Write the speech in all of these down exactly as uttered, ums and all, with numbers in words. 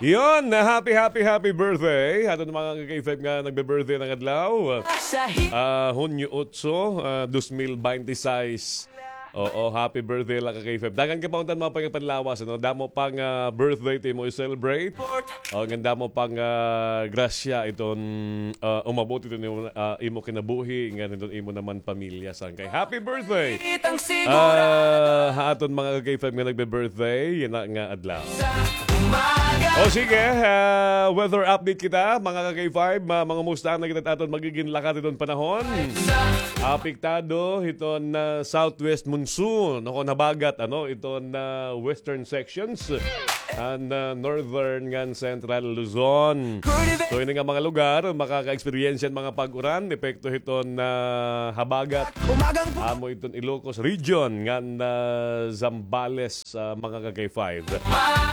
Yon, happy, happy, happy birthday. Aton mga ka-K five nga nagbe-birthday ngayong adlaw. Ah, Hunyo otso, ah, dos mil binte y seis. Oo, happy birthday la ka-K five. Daghan ka pa unta nga mga panlawas, ano? Damo pa nga, ah, birthday it imo i-celebrate. O, ngan damo pa nga, ah, grasya iton, ah, umabot iton imo, ah, imo kinabuhi, ngan iton imo naman pamilya sangkay. Happy birthday! Ah, ha aton mga ka-K five nga nagbe-birthday yana nga adlaw. O sige, ah, weather update kita, mga ka-K five, ma-, mangumusta na kita aton magigin lakat iton panahon. Apektado hiton, ah, southwest monsoon, o kon habagat, ano, iton, ah, western sections, an, ah, northern ngan central Luzon. So, ini nga mga lugar, makaka-experience hin mga pag-uran, epekto hiton, ah, habagat. Amo iton Ilocos Region ngan, ah, Zambales, ah, mga ka-K five.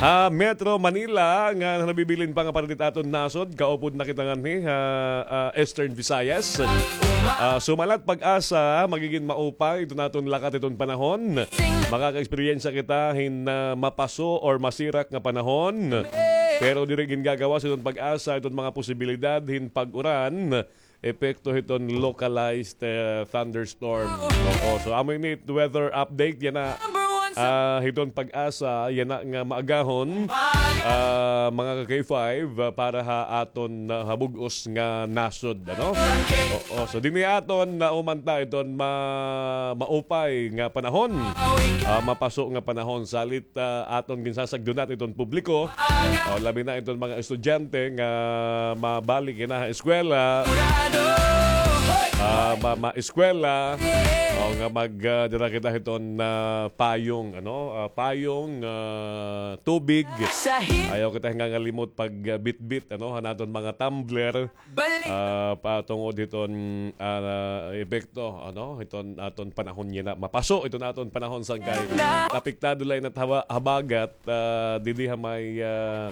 Ha Metro Manila, nga nabibilin pa nga parte hit aton nasod, kaupod na kita nganhi, ha, ah, Eastern Visayas. Ah, sumalat PAGASA, magigin maupay iton aton lakat iton panahon. Makaka-eksperyensya kita hin, ah, mapaso or masirak nga panahon. Pero diri gingagawas iton PAGASA iton mga posibilidad hin pag-uran, epekto hiton localized, eh, thunderstorm. Oo, so amo ini it weather update yana, ah, hiton PAGASA yana nga maagahon, ah, mga ka-K five, ah, para ha aton, ah, ha bug-os nga nasod, ano? Oo, so dinhi aton naumanta iton ma-, maupay nga panahon. Ah, mapaso nga panahon, salit ah, aton ginsasagdunat iton publiko, o, labi na iton mga estudyante nga mabalik yana ha eskwela, ah, ma-, ma-eskwela, o, nga mag, ah, dara kita hiton, ah, payong, ano, ah, payong, ah, tubig. Ayaw kita hingangalimot pag, ah, bitbit, ano, han aton mga tumbler. Ah, patungod hiton, ah, epekto, ano, hiton aton panahon yana. Mapaso iton aton panahon sangkay. Apektado la yana it haba-, habagat, ah, didi ha may, ah,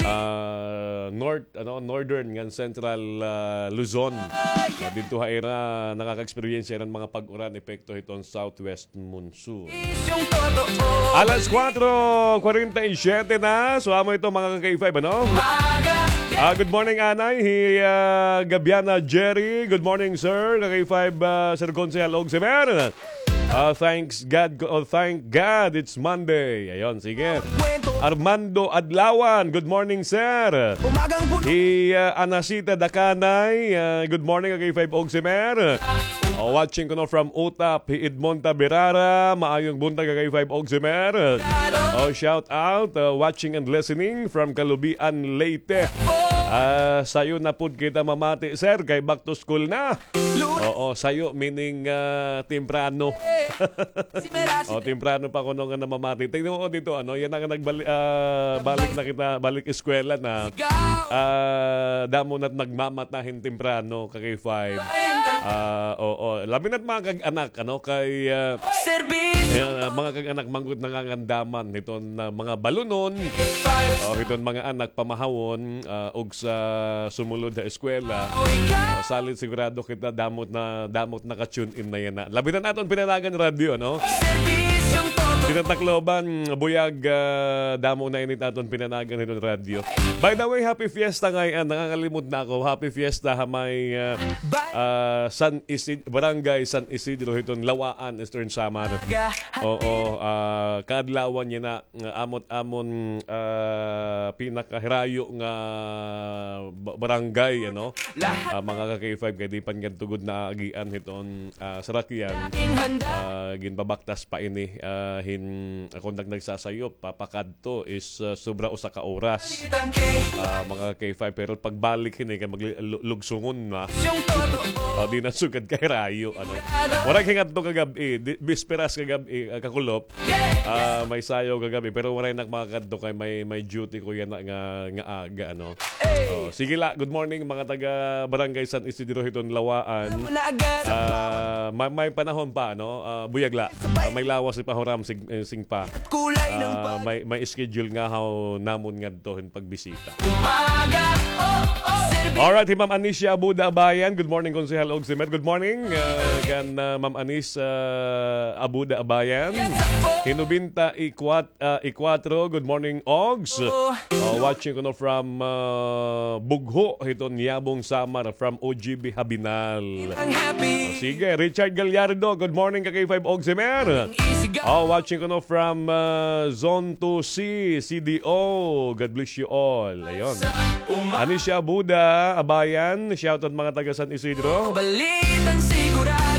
ah, north, ano, northern ngan central, ah, Luzon. Ah, didto ha ira nakaka-eksperyensya hin mga pag-uran epekto hiton southwest monsoon. Alas kuwatro kwarenta y siyete na. So, amo ito, mga ka-K five, ano? Ah, good morning, Anay. Hi, ah, Gabiana Jerry. Good morning, sir. Ka-K five, ah, Sir Konsehal og Semer. Ah, thanks God, oh, thank God it's Monday. Ayon, sige. Armando Adlawan, good morning, sir. Hi, ah, Anasita Dakanay, ah, good morning, ka-K five og Semer. Oh, watching kuno from Utap, hi Edmonta Berara, maayong buntag, ka-K five og Semer. Oh, shout out, uh, watching and listening from Calubian, Leyte. Ah, sayo na pud kita mamati, sir, kay back to school na. Oo, sayo meaning, ah, temprano. Oh, temprano pa kuno nga namamati. Tingnan mo dito, ano, yana nga nagbali-, ah, balik na kita, balik eskwela na. Ah, damo na it nagmamata hin temprano, ka-K five. Ah, oo. Labi na it mga kag-anak, ano, kay, ah, ayan, ah, mga kag-anak man gud nangangandaman hiton, ah, mga balunon, o hiton mga anak pamahawon, ah, ug sa sumulod ha eskwela. Ah, salit sigurado kita damo it na, damo it naka-tune in na yana. Labi na it aton pinanagan radyo, no? Dida ha Tacloban, buyag, ah, damo na ini it aton pinanagan hiton radyo. By the way, happy fiesta ngay-an. Nangangalimot na ako. Happy fiesta ha may, ah, ah, San Isid-, Barangay San Isidro hiton Lawaan, Eastern Samar. Oo, ah, kaadlawan yana nga amo it amon, ah, pinakahirayo nga ba-, barangay, ano? Ah, mga ka-K five, kay di pa ngadto gud naagian hiton, ah, sarakyan. Ah, ginpabaktas pa ini, ah, hin, kon nag-, nagsasayop, papakadto is, ah, sobra usa ka oras. Ah, mga ka-K five, pero pagbalik hini kay magli-, lu-, lugsungon na. Ah, di na sugad kahirayo, ano. Waray hingadto kagab-i, di, bisperas kagab-i, ah, kakulop. Ah, may sayaw kagab-i, pero waray na ak makakadto kay may, may duty ko yana nga, nga aga, ano. Oh, sige la, good morning, mga taga Barangay San Isidro hiton Lawaan. Ah, ma-, may panahon pa, ano? Ah, buyag la. Ah, may lawas pa huram sing, eh, sing pa. Ah, may, may schedule ngahaw namon ngadto hin pagbisita. Alright, hi Ma'am Anisha Abuda Abayan. Good morning, Konsehal og Semer. Good morning, ah, kan, ah, Ma'am Anis, ah, Abuda Abayan. Hi Nobenta Ikwat-, ah, Ikwatro. Good morning, Ogs. Oh, watching kuno from, ah, Bugho, hiton Yabong, Samar, from O G B Habinal. Oh, sige, Richard Gallardo, good morning, ka K five Ogsimer. Oh, watching kuno from, ah, Zone two C, C D O. God bless you all. Ayun. Anisha Buda, Abayan, shout out mga taga San Isidro.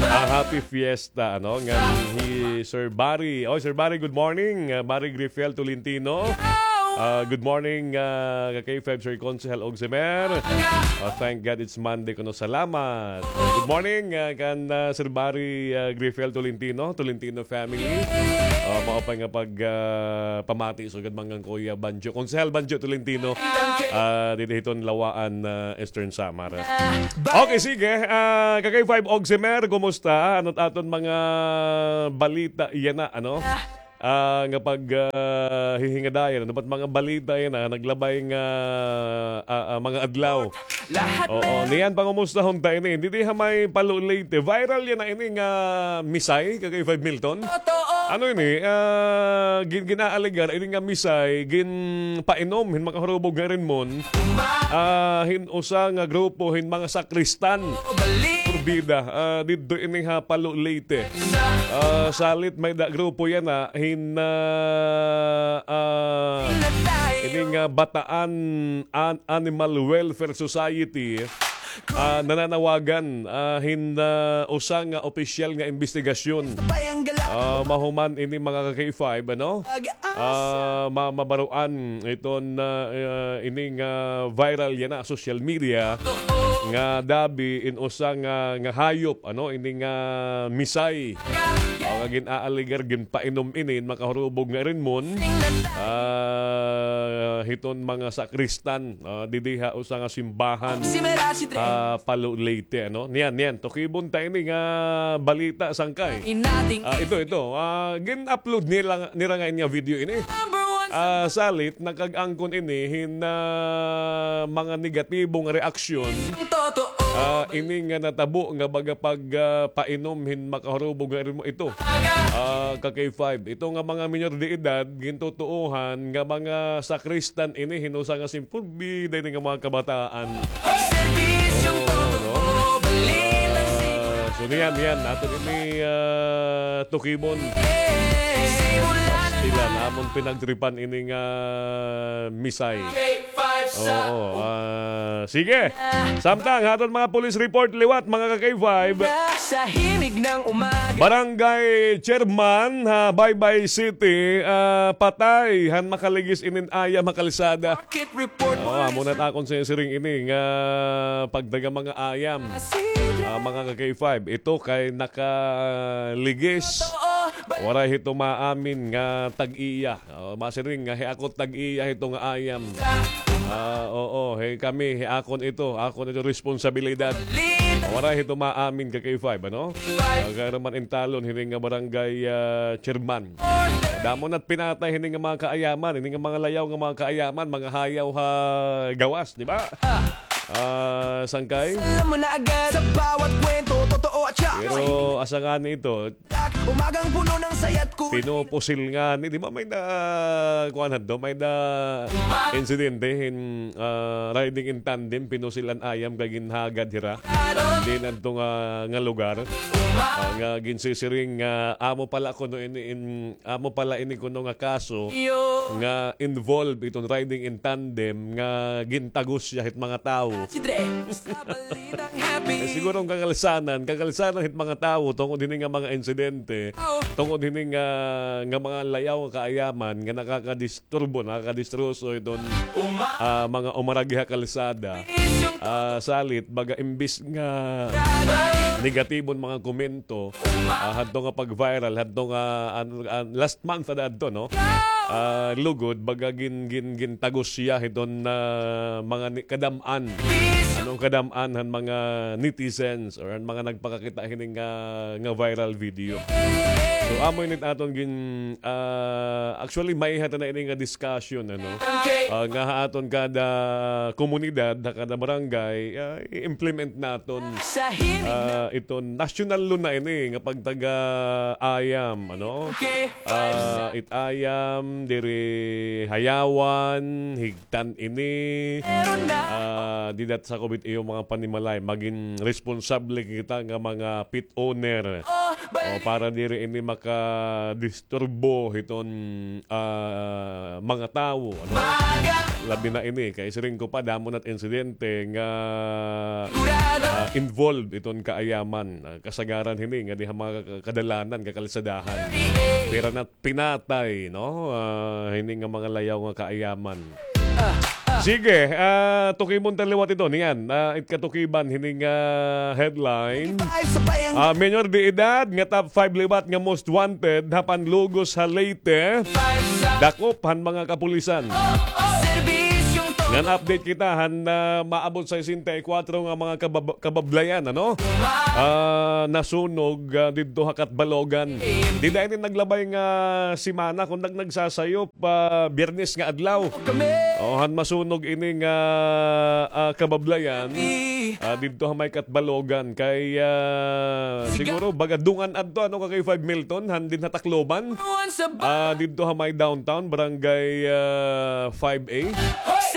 Ah, happy fiesta, ano, ngan hi Sir Barry. Oh, Sir Barry, good morning. Ah, Barry Grifel Tolentino. Ah, good morning, ah, ka K five Sir Konsehal Ogsimer. Ah, thank God it's Monday kuno. Salamat. Good morning, ah, kan, ah, Sir Barry, ah, Grifel Tolentino, Tolentino family. Ah, maupay nga pag, ah, pamati sugad man kan Kuya Banjo, Konsehal Banjo Tolentino. Ah, didi hiton Lawaan, ah, Eastern Samar. Okay, sige. Ah, ka K five Ogsimer, kumusta? Ano't aton mga balita yana, ano? Ah, nga pag, ah, hihingadayan, ano ba't mga balita yana, naglabay nga, ah, ah, mga adlaw? Oo, niyan pangumustahon ta ini. Didi ha may Palo Leyte. Viral yana ini nga misay, ka K five Milton. Ano ini? Ah, gin-, gin-aalegar ini nga misay, ginpainom hin makahurubog nga rinmon. Ah, hin usa nga grupo hin mga sakristan. Porbida, ah, didto ini ha Palo Leyte. Ah, salit may-ada grupo yana hin, ah, ah, ini nga Bataan An-, Animal Welfare Society, ah, nananawagan, ah, hin, ah, usa nga opisyal nga imbestigasyon. Ah, mahuman ini mga ka K five, ano? Ah, ma-, mabaruan iton, ah, ah, ini nga viral yana social media nga dabi in usa nga, nga hayop, ano, ini nga misay. O, nga gin-aalegar, ginpainom ini hin makahurubog nga rinmon. Ah, hiton mga sakristan, ah, didi ha usa nga simbahan, ah, Palo Leyte, ano? Niyan, niyan, tukibon ta ini nga balita, sangkay. Ah, ito, ito. Ah, gin-upload nira, nira ngay-an nga video ini. Ah, salit, nakag-angkon ini hin, ah, mga negatibong reaksyon. Ah, ini nga natabo nga baga pag, ah, painom hin makahurubog nga rinmon ito. Ah, ka K five. Ito nga mga minor de edad, gintutuohan nga mga sakristan ini hin usa nga sim-, porbida ini nga mga kabataan. Oo, no? Ah, so niyan, niyan, aton ini, ah, tukibon. Pastilan, amon pinagtripan ini nga misay. Oo, ah, sige. Samtang, aton mga police report liwat, mga ka K five. Barangay chairman ha Baybay City, ah, patay han makaligis inin ayam ha kalsada. Oh, amo na it akon sinisiring ini nga pagdaga mga ayam. Ah, mga ka K five, ito kay nakaligis. Waray hito maamin nga tag-iya. Oh, masiring nga hi ako tag-iya hito nga ayam. Ah, oo, hi kami, hi akon ito, akon ito responsibilidad. Waray hito maamin ka K five, ano? Kay ira man intalon hini nga barangay, ah, chairman. Damo na't pinatay hini nga mga kaayaman, hini nga mga layaw nga mga kaayaman, mga hayaw ha gawas, di ba? Ah, sangkay? Pero asa ngani ito? Pinupusil ngani, di ba may na, kuan hadto, may na insidente hin, ah, riding in tandem, pinusil an ayam kay ginhagad hira. Dinhi hadto nga, nga lugar. Ah, nga ginsisiring nga amo pala kuno ini in, amo pala ini kuno nga kaso nga involved iton riding in tandem nga gintagos hiya hit mga tawo. Eh, siguro an kakalsanan, kakalsanan hit mga tawo tungod hini nga mga insidente, tungod hini nga, nga mga layaw nga kaayaman nga nakakadisturbo, nakakadistroso iton, ah, mga umaragi ha kalsada. Ah, salit, baga imbis nga negatibon mga komento, ah, hadto nga pag-viral, hadto nga, an, an, last month na adto, no? Ah, lugod, baga gin, gin, gintagos hiya hiton, ah, mga ni-, kadam-an. Ano, kadam-an han mga netizens or han mga nagpakakita hini nga, nga viral video. So, amo ini it aton gin, ah, actually, may hata na ini nga discussion, ano? Ah, nga ha aton kada komunidad, ha kada barangay, ah, i-implement naton, ah, iton national law na ini nga pagtaga ayam, ano? Ah, it ayam, diri hayawan, higtan ini. Ah, dida it sakop it iyo mga panimalay. Magin responsable kita nga mga pet owner. O, para diri ini makadisturbo hiton, ah, mga tawo, ano? Labi na ini, kay siring ko pa, damo na it insidente nga, ah, involved iton kaayaman. Ah, kasagaran hini nga diha mga ka-, kadalanan, kakalsadahan. Pira na pinatay, no? Ah, hini nga mga layaw nga kaayaman. Sige, ah, tukibon ta liwat ito. Niyan, ah, it katukiban hini nga headline. Ah, minor de edad nga top five liwat nga most wanted ha panlugos ha Leyte. Dakop han mga kapulisan. Ngan update kita han, ah, maabot sesenta y kuwatro nga mga kabab-, kabablayan, ano? Ah, nasunog, ah, didto ha Catbalogan. Dida ini naglabay nga semana, kon nag-, nagsasayop, ah, Biyernes nga adlaw. O, han masunog ini nga, ah, kabablayan, ah, didto ha may Catbalogan. Kay, ah, siguro, baga dungan adto, ano, ka K five Milton, han dinhi ha Tacloban. Ah, didto ha may downtown, barangay, ah, five A.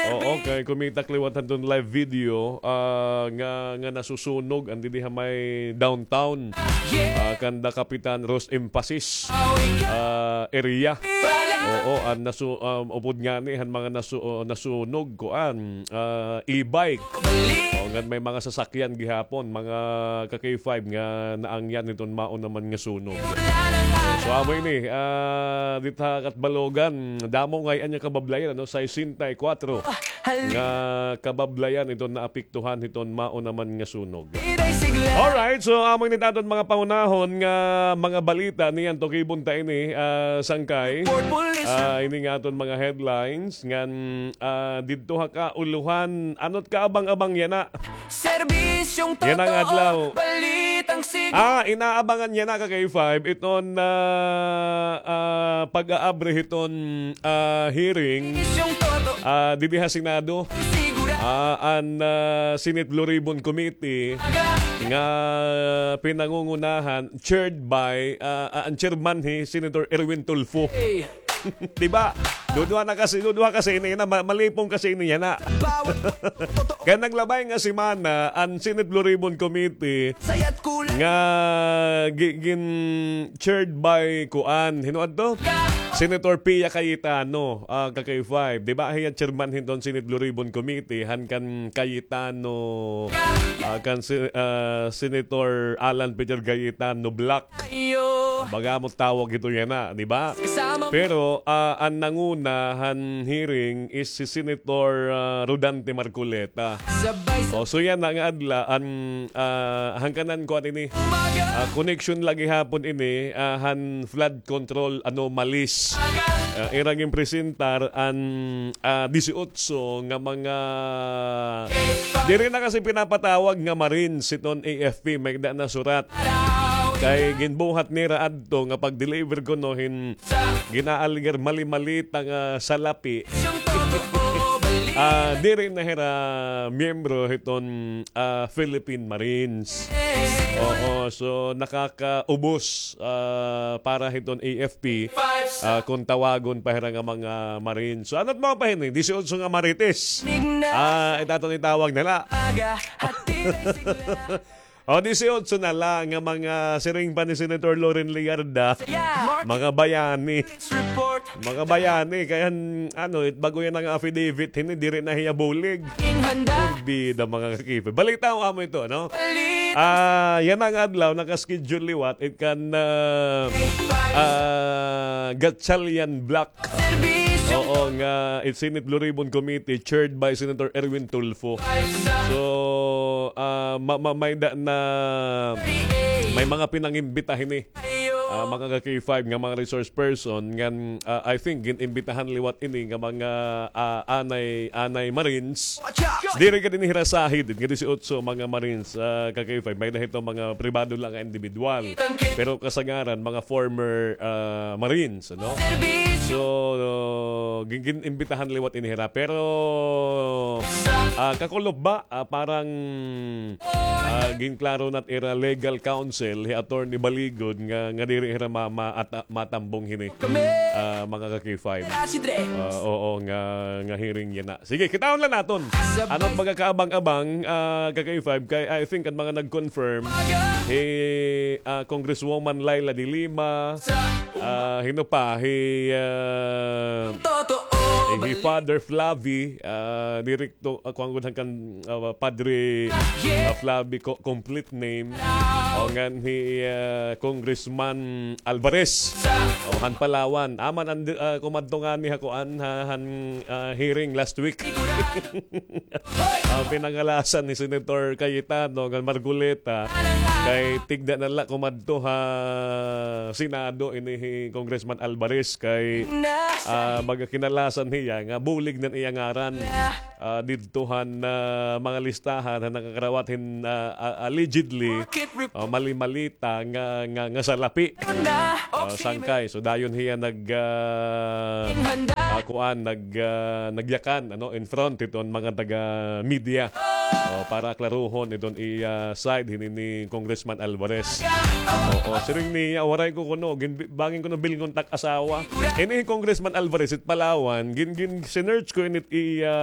Oo, kay kumita ak liwat hadton live video, ah, nga, nga nasusunog, an dinhi ha may downtown. Ah, kanda Kapitan Ros Emphasis, ah, area. Oo, an nasu-, um, upod ngani han mga nasu-, oh, nasunog, kuan, ah, e-bike. O, ngan may mga sasakyan gihapon, mga ka K five nga naangyan hiton mao naman nga sunog. So, amo ini, ah, didto ha Catbalogan, damo ngay-an nga kabablayan, ano, sesenta y kuwatro nga kabablayan iton naapektuhan hiton mao naman nga sunog. Alright, so amo ini it aton mga pangunahon nga mga balita niyan, tukibon ta ini, ah, sangkay. Ah, ini nga aton mga headlines ngan, ah, didto ha kaulohan, ano it kaabang-abang yana? Yana nga adlaw. Ah, inaabangan yana ka K five iton, ah, ah, pag-aabri hiton, ah, hearing, ah, didi ha Senado. Ah, an, ah, Senate Blue Ribbon Committee nga pinangungunahan, chaired by, ah, ah, an chairman hi Senator Erwin Tulfo. Di ba? Duduha na kasi, duduha kasi ini na, ma-, malipong kasi ini yana. Kay naglabay nga semana an Senate Blue Ribbon Committee nga gi-, gin-chaired by kuan, hin-o adto? Senator Pia Cayetano, ah, ka K five. Di ba, hiya chairman hiton Senate Blue Ribbon Committee, han kan Cayetano, ah, kan si-, ah, Senator Alan Peter Cayetano Block. Baga amo tawag ito yana, di ba? Pero, ah, an nanguna han hearing is si Senator, ah, Rodante Marcoleta. O, so yana nga adlaw, an, ah, han kanan kuan ini, ah, connection la gihapon ini, ah, han flood control anomalies. Ah, ira ginpresentar an, ah, disiotso nga mga, diri na kasi pinapatawag nga Marines hiton A F P, may da nasurat. Kay ginbuhat nira adto nga pag-deliver kuno hin gin-aalegar mali-malita nga salapi. Ah, diri na hira miyembro hiton, ah, Philippine Marines. Oo, so nakakaubos, ah, para hiton A F P, ah, kon tawagon pa hira nga mga Marines. So, ano it mao pa hini? Disiotso nga Marites. Ah, it aton itawag na la. O, disiotso na la nga mga siring pa ni Senator Loren Legarda, mga bayani. Mga bayani, kay an, ano, it bag-o yana nga affidavit, hini, diri na hiya bulig. Bida, mga ka-K five. Balita amo ito, no? Ah, yana nga adlaw, naka-schedule liwat, it kan, ah, ah, Gatchalian Block. Oo, nga it Senate Blue Ribbon Committee chaired by Senator Erwin Tulfo. So, ah, ma-, ma-, may da na, may mga pinangimbita hini. Ah, mga ka-K five nga mga resource person, ngan, ah, I think, gin-imbitahan liwat ini nga mga, ah, anay, anay Marines. Diri ka dinhi hira sahid, nga disiotso mga Marines, ah, ka-K five, may da hito mga pribado la nga individual. Pero kasagaran, mga former, ah, Marines, ano? So, gin-, gin-imbitahan liwat ini hira. Pero, ah, kakulop ba, ah, parang, ah, ginklaro na it ira legal counsel, hi Attorney Baligod, nga, nga diri hira ma-, ma-, at, ah, matambong hini. Ah, mga ka-K five. Ah, oo, nga, nga hearing yana. Sige, kitaon la naton. Ano it baga kaabang-abang, ah, ka-K five, kay I think an mga nag-confirm, hi, ah, Congresswoman Leila de Lima, ah, hin-o pa, hi, ah, hi Father Flavi, ah, diri to, ah, kuan gud han kan, ah, Padre, ah, Flavi, ko-, complete name. O ngan hi, ah, Congressman Alvarez. O, han Palawan. Amo an, ah, kumadto ngani ha kuan, ha, han, ah, hearing last week. Ah, pinangalasan ni Senator Cayetano ngan Marcoleta. Kay tigda na la kumadto ha Senado ini hi Congressman Alvarez kay, ah, baga kinalasan hiya nga bulig na an iya ngaran, ah, didto han, ah, mga listahan han nakakarawat hin, ah, ah, allegedly, ah, mali-malita nga, nga, nga salapi. Ah, sangkay. So, dayon hiya nag, ah, ah, kuan, nag, ah, nagyakan, ano, in front hiton mga taga-media. Oh, para klaruhon iton iya side hini ni Congressman Alvarez. Oo, siring niya, waray ko kuno, gin-, bangin kuno bilngon tak asawa. Ini hi Congressman Alvarez, it Palawan, gin, gin, sinearch ko init iya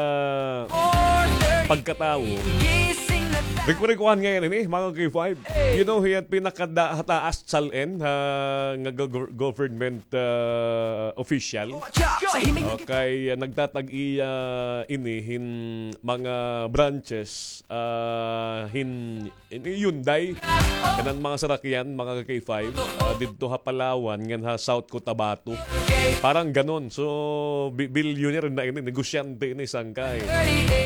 pagkatawo. Rikuan ngayon ini, mga K five. You know, hiya it pinakada-, hataas salin, ha, nga go-, government, ah, official. Okay, ah, nagtatag-iya ini hin mga branches, ah, hin, hin Hyundai. Kanan mga sarakyan, mga ka-K five, ah, didto ha Palawan, ngan ha South Cotabato. Parang ganon. So, bi-, billionaire na ini, negosyante ini, sangkay.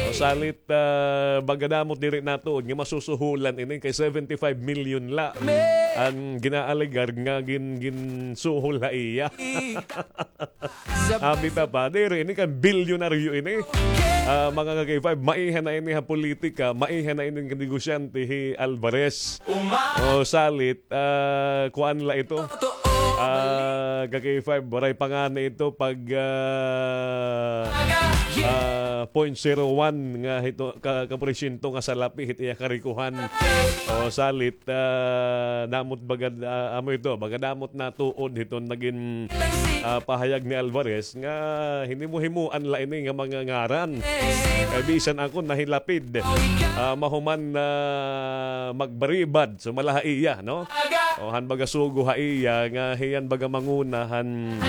O, salit, ah, baga damo it diri natuod nga masusuhulan ini kay seventy-five million la an ginaalegar nga gin-, ginsuhol ha iya. Abi ta pa, diri ini kan bilyonaryo ini. Ah, mga ka-K five, maiha na ini ha politika, maiha na ini kan negosyante hi Alvarez. O, salit, ah, kuan la ito. Ah, ka-K five, waray pa ngani ito pag, ah, ah, point zero one nga hito, ka, ka porsyento nga salapi hit iya karikuhan. O, salit, ah, damo it baga, ah, amo ito, baga damo it natuod hiton nagin, ah, pahayag ni Alvarez nga hinimo-himoan la ini nga mga ngaran. Kay bisan ako nahilapid, ah, mahuman na magbaribad, sumala ha iya, no? O, han baga sugo ha iya nga hiya an baga manguna han,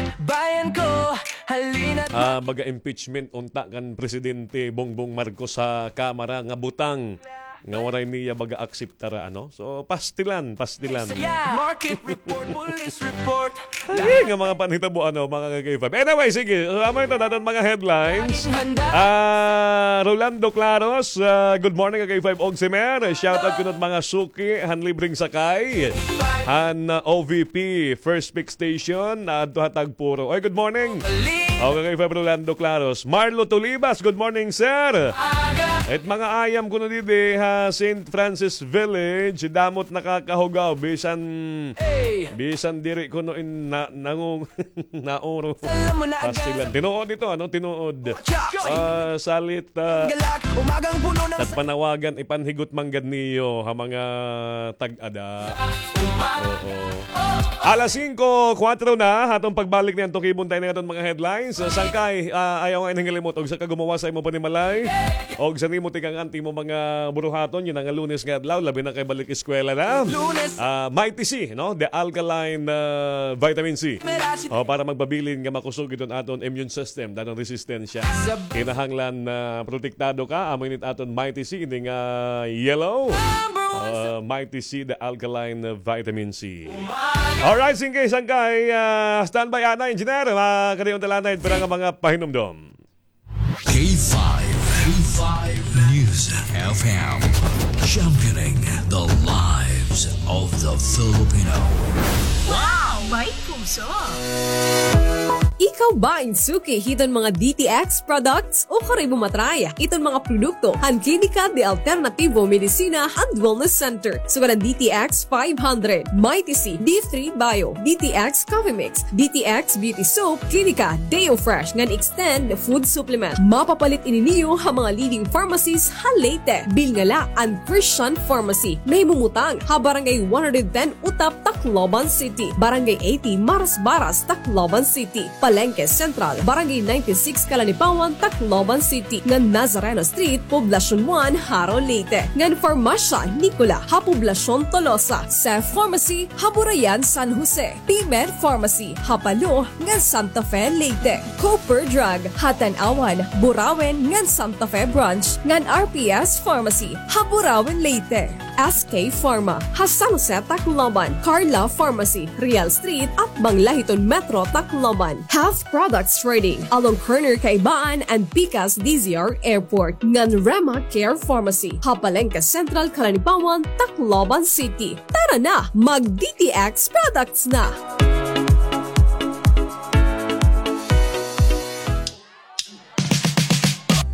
ah, baga impeachment unta kan Presidente Bongbong Marcos ha Kamara nga butang nga waray niya baga akseptara, ano? So, pastilan, pastilan. Market report, police report. Ay, nga mga panhitabo, ano, mga ka-K five. Anyway, sige. So, amo ito, daton mga headlines. Ah, Rolando Claros, ah, good morning, ka-K five og si Mer. Shout out kuno it mga suki han libreng sakay han, ah, O V P, First Pick Station, adto ha Tagpuro. Oy, good morning. O, ka-K five Rolando Claros. Marlo Tulibas, good morning, sir. It mga ayam kuno didi ha Saint Francis Village, damo it nakakahugaw, bisan, bisan diri kuno in na-, nangung-, nauro. Pastilan. Tinuod ito, ano? Tinuod. Ah, salit, ah, nagpanawagan, ipanhigot man gad niyo ha mga tag-ada. Oo. Alas singko, kuwatro na, aton pagbalik niyan, tukibon ta ini nga aton mga headlines. Sangkay, ah, ayaw nga ihingalimot, og sa ka gumawas sa imo panimalay, og sa nimo tikang-an it imo mga buruhaton, yana nga Lunes nga adlaw, labi na kay balik eskwela na. Ah, Mighty C, no? The alkaline, ah, vitamin C. O, para magpabilin nga makusog iton aton immune system, danon resistensya. Kinahanglan na protektado ka, amo ini it aton Mighty C, ini nga yellow. Ah, Mighty C, the alkaline vitamin C. Alright, sige, sangkay, ah, standby, ana, engineer. Makadayon ta la anay hit pira nga mga pahinumdom. K five, K five News F M, championing the lives of the Filipino. Wow! May puso! Ikaw ba in suki hiton mga D T X products o kari mo matry iton mga produkto han Klinika de Alternativo Medicina and Wellness Center? Sugad an D T X five hundred, Mighty C, D three Bio, D T X Coffee Mix, D T X Beauty Soap, Klinika Deo Fresh ngan Extend Food Supplement. Mapapalit ini niyo ha mga leading pharmacies ha Leyte. Bilnga la an Christian Pharmacy. Nahimumutang ha Barangay one hundred ten Utap, Tacloban. Tacloban City, Barangay eighty, Marasbaras, Tacloban City, Palengke Central, Barangay ninety-six, Calanipawan, Tacloban City, ngan Nazareno Street, Poblacion one, Jaro, Leyte, ngan Farmasya Nicola ha Poblacion Tolosa, Seth Pharmacy ha Burayan, San Jose, P-Med Pharmacy ha Palo ngan Santa Fe, Leyte, Cooper Drug ha Tanauan, Burauen ngan Santa Fe Branch, ngan R P S Pharmacy ha Burauen, Leyte, S K Pharma ha San Jose, Tacloban, Carla Pharmacy, Real Street, atbang la hiton Metro Tacloban, Health Products Trading, along corner Kaibaan and Pikas D Z R Airport, ngan Rema Care Pharmacy ha Palengke Central, Calanipawan, Tacloban City. Tara na, mag D T X products na!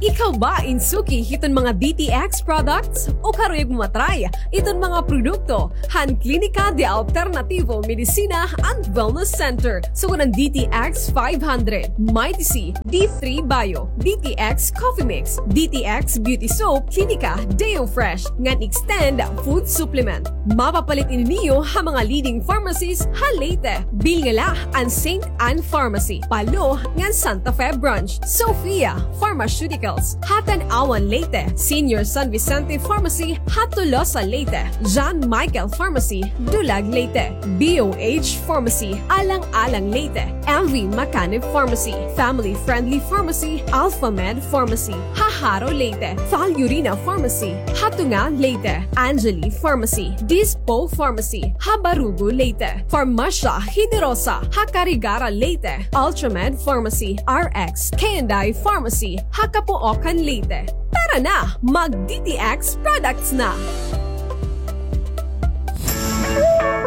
Ikaw ba in suki hiton mga D T X products? O karuyag mo ma-try iton mga produkto han Klinika de Alternativo Medicina and Wellness Center, sugad han D T X five hundred, Mighty C, D three Bio, D T X Coffee Mix, D T X Beauty Soap, Klinika Deo Fresh, ngan Extend Food Supplement. Mapapalit ini niyo ha mga leading pharmacies ha Leyte. Bilin la an Saint Anne Pharmacy, Palo, ngan Santa Fe Branch, Sophia Pharmaceuticals ha Tanauan, Leyte, Senior San Vicente Pharmacy ha Tolosa, Leyte, John Michael Pharmacy, Dulag, Leyte, B O H Pharmacy, Alang-alang, Leyte, M V Macanib Pharmacy, Family Friendly Pharmacy, Alpha Med Pharmacy ha Jaro, Leyte, Val Urina Pharmacy ha Tunga, Leyte, Angeli Pharmacy, Dispo Pharmacy ha Barugo, Leyte, Farmasya Generosa ha Carigara, Leyte, Ultramed Pharmacy, R X K and I Pharmacy ha Capoocan, Leyte. Tara na, mag D T X products na!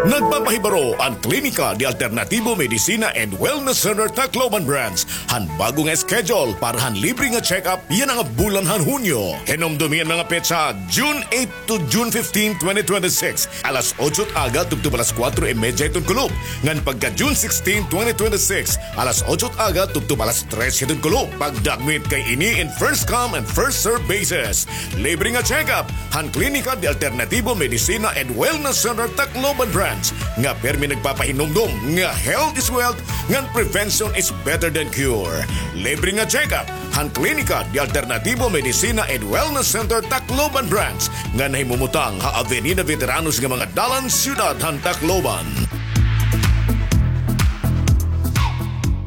Nagpapahibaro an Klinika de Alternativo Medicina and Wellness Center Tacloban Branch han bag-o nga schedule para han libre nga check-up yana nga bulan han Hunyo. Hinumdomi an mga petsa, June eight to June fifteen, twenty twenty-six, alas otso it aga tubtob alas kuwatro y medya hiton kulop, ngan pagka June sixteen, twenty twenty-six, alas otso it aga tubtob alas tres hiton kulop. Pagdagmit kay ini in first come and first serve basis. Libre nga check-up han Klinika de Alternativo Medicina and Wellness Center Tacloban Branch, nga pirmi nagpapahinumdom nga health is wealth ngan prevention is better than cure. Libre nga check-up han Klinika de Alternativo Medicina and Wellness Center Tacloban Branch, nga nahimumutang ha Avenida Veteranos nga mga dalan, siyudad han Tacloban.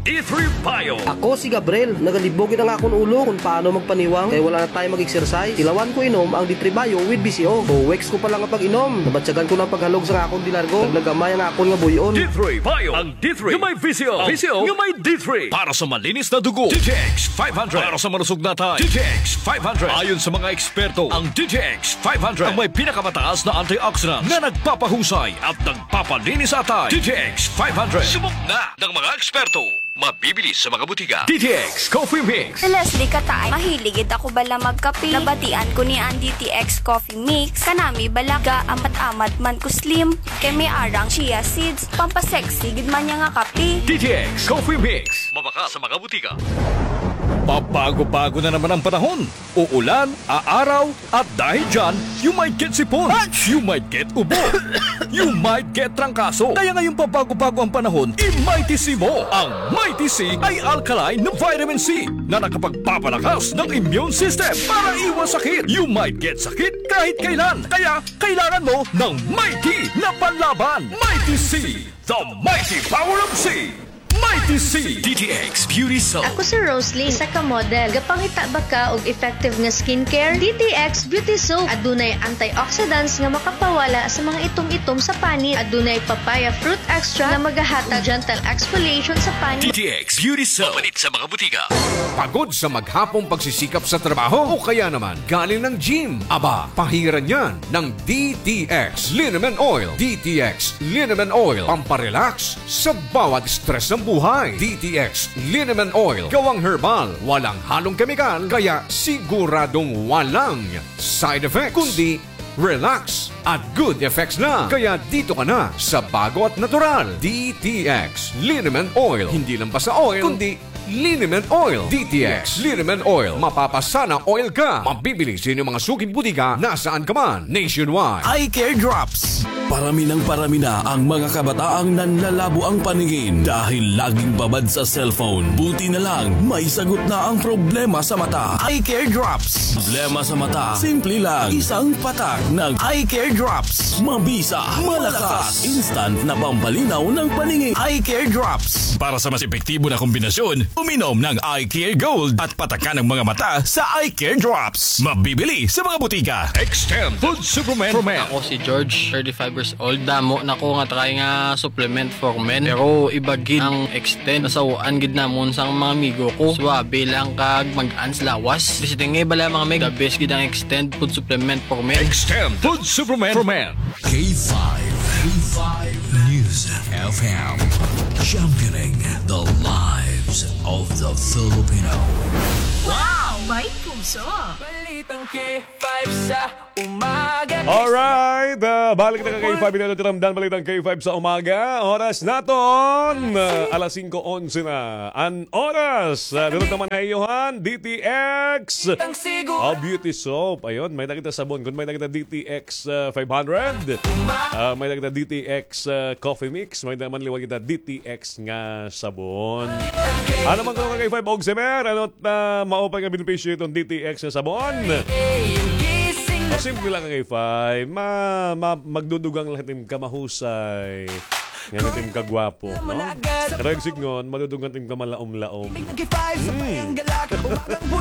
D three Bio. Ako si Gabriel. Nagalibog gid an akon ulo kon paano magpaniwang kay wala na time mag-exercise. Tilawan ko inom ang D three Bio with V C O. Two weeks ko pa lang nga pag-inom, nabatyagan ko na an paghalog sa akon dinargo. Naglagamay ang akon nga buy-on. D three Bio. Ang D three nga may V C O. Ang V C O nga may D three. Para sa malinis na dugo, D T X five hundred. Para sa malusog na atay, D T X five hundred. Ayon sa mga eksperto, ang D T X five hundred ang may pinakamataas na antioxidants na nagpapahusay at nagpapalinis sa atay. D T X five hundred. Subok na ng mga eksperto. Mabibili sa mga botika. D T X Coffee Mix. Si Leslie Kataay, mahilig gid ako bala magkape. Nabatian ko niya an D T X Coffee Mix. Kanami bala, gaamat-amat man ko slim. Kay may arang chia seeds, pampasexy gid man niya nga kape. D T X Coffee Mix. Mabaka sa mga botika. Pabago-bago na naman ang panahon. Uulan, aaraw, at dahil dyan, you might get sipon. You might get ubo. You might get trangkaso. Kaya ngayong pabago-bago ang panahon, i-Mighty C mo. Ang Mighty C ay alkaline na vitamin C na nakapagpapalakas ng immune system para iwas sakit. You might get sakit kahit kailan. Kaya kailangan mo ng Mighty na panlaban. Mighty C, the mighty power of C. Mighty C. D T X Beauty Soap. Ako si Roslyn, isa ka model. Gapangita ba ka og effective nga skincare? D T X Beauty Soap. Adunay antioxidants nga makapawala sa mga itom-itom sa panit. Adunay papaya fruit extract nga magahatag gentle exfoliation sa panit. D T X Beauty Soap. Mapalit sa mga botika. Pagod sa maghapong pagsisikap sa trabaho o kaya naman galing ng gym? Aba, pahiran yan ng D T X Liniment Oil. D T X Liniment Oil, pamparelax sa bawat stress ng buhay. D T X Liniment Oil, gawang herbal, walang halong kemikal, kaya siguradong walang side effects, kundi relax at good effects na. Kaya dito ka na sa bago at natural. D T X Liniment Oil. Hindi lang basta oil, kundi Liniment Oil, D T X. Liniment Oil, mapapasana oil ka. Mabibili sa inyong mga suking butika nasaan ka man, nationwide. Eye Care Drops. Parami ng parami na ang mga kabataang nanlalabo ang paningin dahil laging babad sa cellphone. Buti na lang, may sagot na ang problema sa mata. Eye Care Drops. Problema sa mata, simple lang. Isang patak ng Eye Care Drops. Mabisa, malakas, instant na pampalinaw ng paningin. Eye Care Drops. Para sa mas epektibo na kombinasyon, uminom ng Eye Care Gold at patakan ang mga mata sa Eye Care Drops. Mabibili sa mga butika. Extend Food Supplement for Men. Ako si George, thirty-five years old. Damo na ko nga try nga supplement for men. Pero iba gid ang Extend. Nasaw-an gid namon sang mga amigo ko. Suabe lang kag mag-ans lawas. Basta nga bala mga meg, the best gid ang Extend Food Supplement for Men. Extend Food Supplement for Men. K five, K five News F M, championing the lives of the Filipino. Wow! May puso! Balitang K five sa umaga. Alright, ah, balik na ka K five, ito, ito, ramdam, balitang K five sa umaga. Oras naton, ah, alas singko onse na. An oras, ah, dito naman ha iyo han, D T X. Ang sigo. Oh, beauty soap. Ayun, may-ada kita sabon. Kun may-ada kita D T X, ah, five hundred. Ah, may-ada kita D T X, ah, coffee mix. May-ada man liwat kita D T X nga sabon. Ano man ko ka K five og semer? Ano ta maupay nga benepisyo iton D T X nga sabon? O, simple lang ka K five. Ma, ma, magdudugang lang it im kamahusay. Ngan it im kagwapo, no? Karuyag sidngon, madudugang it im kamalaom-laom. Hmm.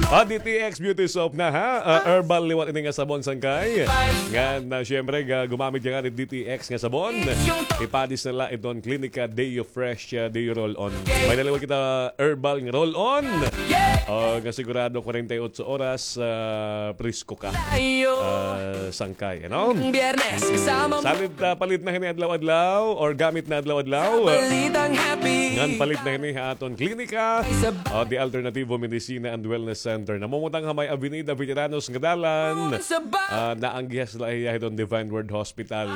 Ah, D T X Beauty Soap na, ha? Ah, herbal liwat ini nga sabon, sangkay. Ngan, ah, syempre, ga-, gumamit ka nga ni D T X nga sabon. Ipadis na la iton Clinica Deo Fresh, ah, Deo Roll-On. May-ada liwat kita herbal nga roll-on. Oh, nga sigurado kwarenta y otso oras, ah, presko ka. Ah, sangkay, ano? Salit, ah, palit na hini adlaw-adlaw or gamit na adlaw-adlaw. Ngan palit na hini ha aton klinika, ah, The Alternativo Medicina and Wellness Center. Namumutang ha may Avenida Veteranos nga dalan. Ah, naanggihas la hiya hiton Divine Word Hospital.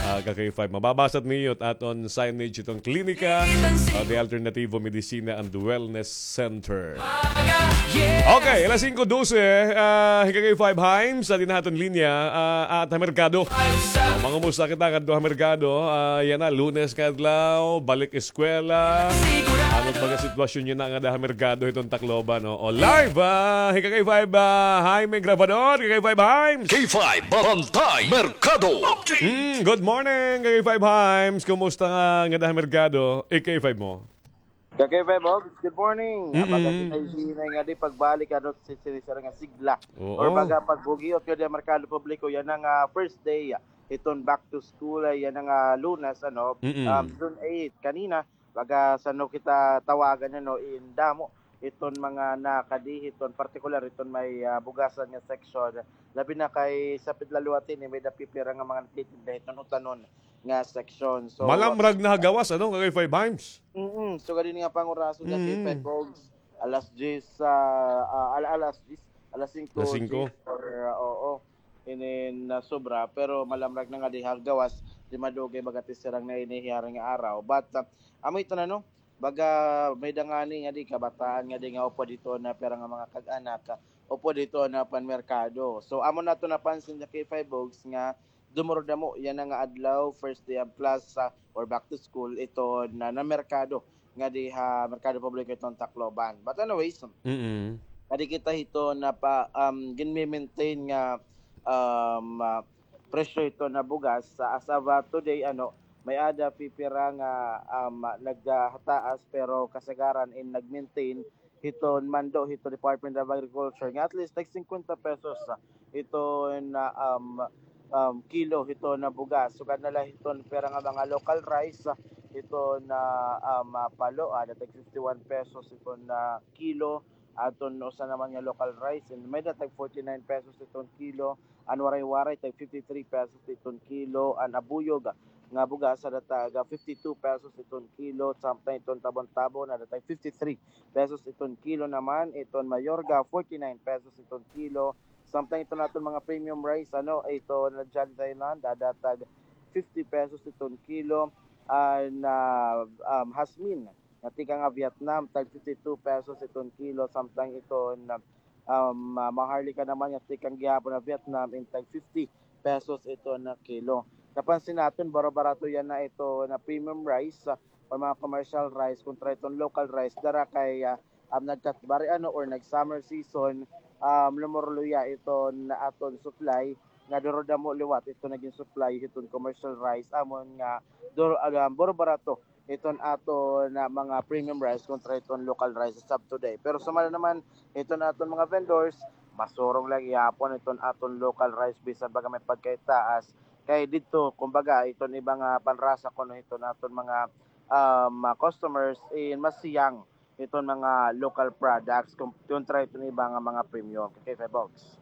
Ah, ka K five. Mababasa niyo it aton signage hiton klinika, ah, The Alternativo Medicina and Wellness Center. Okay, alas singko dose, ah, hi ka K five Himes, sa dinha ha aton linya, ah, at ha merkado. Mangumusta kita ngadto ha merkado, ah, yana, Lunes nga adlaw, balik eskwela. Ano it baga sitwasyon niyo na ngada ha merkado hiton Tacloban, no? O, live, ah, hi ka K five, ah, Jaime Grabador, ka K five Himes. K five Barangay Merkado. Mm, good morning, ka K five Himes. Kumusta nga ngada ha merkado, ka K five mo? Ka K five Hogs, good morning. Mm-mm. Baga kita hinay nga di pagbalik, ano, si, si, si, nga sigla. Oo. Or baga pagbugiot ko di merkado publiko, yana nga, ah, first day, ah, hiton back to school, ah, yana nga, ah, Lunes, ano, Mm-mm. um, June eight, kanina, baga san-o kita tawagan, ano, in damo hiton mga nakadi hiton partikular hiton may, ah, bugasan nga section. Labi na kay sapit la liwat ini, may-ada pipira nga mga nagtitinda hiton utanon nga section. So, malamrag na ha gawas, ano, ka K five Himes? Mm, so, gad ini nga pangurason nga Mm. K five Hogs, alas diyes, ah, ah, al-, alas diyes, alas singko, alas singko. Or, ah, oo, inin, ah, sobra, pero malamrag na nga di ha gawas, di madugay baga it sirang na ini hiyaring nga araw. But, ah, amo ito na, no? Baga may-ada ngani nga di kabataan nga di nga upod hiton pira nga mga kag-anak, upod hiton panmerkado. So, amo naton napansin ha K five Hogs nga dumurudamo yana nga adlaw, first day of class, ah, or back to school, hiton, ah, merkado nga di ha merkado publiko hiton Tacloban. But anyways, Mm-mm. kadi kita hiton pa, um, ginme-maintain nga, um, ah, presyo hiton bugas. Sa, as of, ah, today, ano, may-ada pipira nga, um, nagtaas, pero kasagaran in nag-maintain hiton mando hiton Department of Agriculture nga at least tag singkwenta pesos, ah, hiton, ah, um, um, kilo hiton bugas. Sugad na la hiton pira nga mga local rice, ah, hiton, ah, um, ah, palo, ah, ada tag fifty-one pesos hiton, ah, kilo. Adton usa naman nga local rice, and may-ada tag forty-nine pesos hiton kilo. An waray-waray, tag fifty-three pesos hiton kilo. An abuyog nga bugas, ada tag fifty-two pesos hiton kilo. Samtang hiton tabon-tabon, ada tag fifty-three pesos hiton kilo naman. Hiton mayorga, forty-nine pesos hiton kilo. Samtang hiton aton mga premium rice, ano, hiton Jolly Thailand, ada tag fifty pesos hiton kilo. An, ah, um, Jasmine, nga tikang nga Vietnam, tag fifty-two pesos iton kilo, samtang iton, um, ah, Maharlika naman nga tikang gihapon nga Vietnam, in tag fifty pesos iton kilo. Napansin naton, baro-barato yana iton premium rice, ah, or mga commercial rice kontra iton local rice. Dara kay, ah, um, nagkatbari ano or nag-summer season, um, lumurluya iton aton supply nga duro damo liwat iton nagin supply hiton commercial rice amon nga duro, um, baro-barato iton aton, ah, mga premium rice kontra iton local rice as of today. Pero sumala naman iton aton mga vendors, masurong la gihapon iton aton local rice bisan baga may pagkaitaas. Kay didto, kumbaga, iton iba nga panrasa kuno iton aton mga, um, ah, customers, eh, masiyang iton mga local products kon-, kontra iton iba nga mga premium. Kay Five Bogs.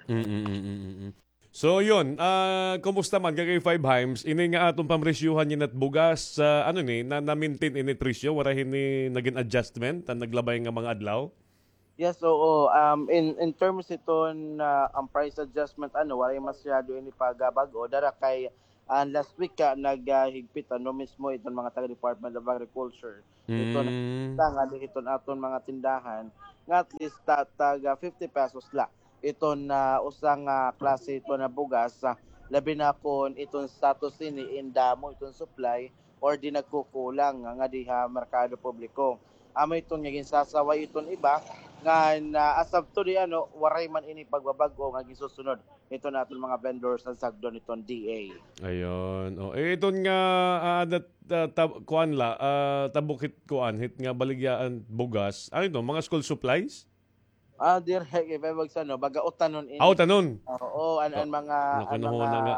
Mm, mm, mm, mm, mm. So, yun, ah, kumusta man, K K five Himes, ini nga aton pamresyuhan yana hit bugas, ah, ano ini, na, na-maintain ini presyo, waray hini nagin adjustment, an naglabay nga mga adlaw? Yes, oo. Um, in, in terms iton, ah, an price adjustment, ano, waray masyado ini pagbag-o. Dara kay, ah, last week ka, nag, ah, higpit, ano, mismo iton mga taga Department of Agriculture. Iton, mm, nga di iton aton mga tindahan, nga at least ta-, taga fifty pesos la iton, ah, usa nga klase iton nga bugas, ah, labi na kon iton status ini in damo iton supply or di nagkukulang nga, nga diha merkado publiko. Amo iton nga ginsasaway iton iba nga, ah, as of today, ano, waray man ini pagbabag-o nga ginsusunod iton aton mga vendors an sagdon iton D A. Ayun. Oh, eh, iton nga, ah, dat-, ah, tab-, kuan la, ah, tabok hit kuan, hit nga baligyaan bugas. Ano ito? Mga school supplies? Ah, diri, K five Bogs, ano, baga utanon ini. Ah, utanon. Oo, an, an mga, an mga,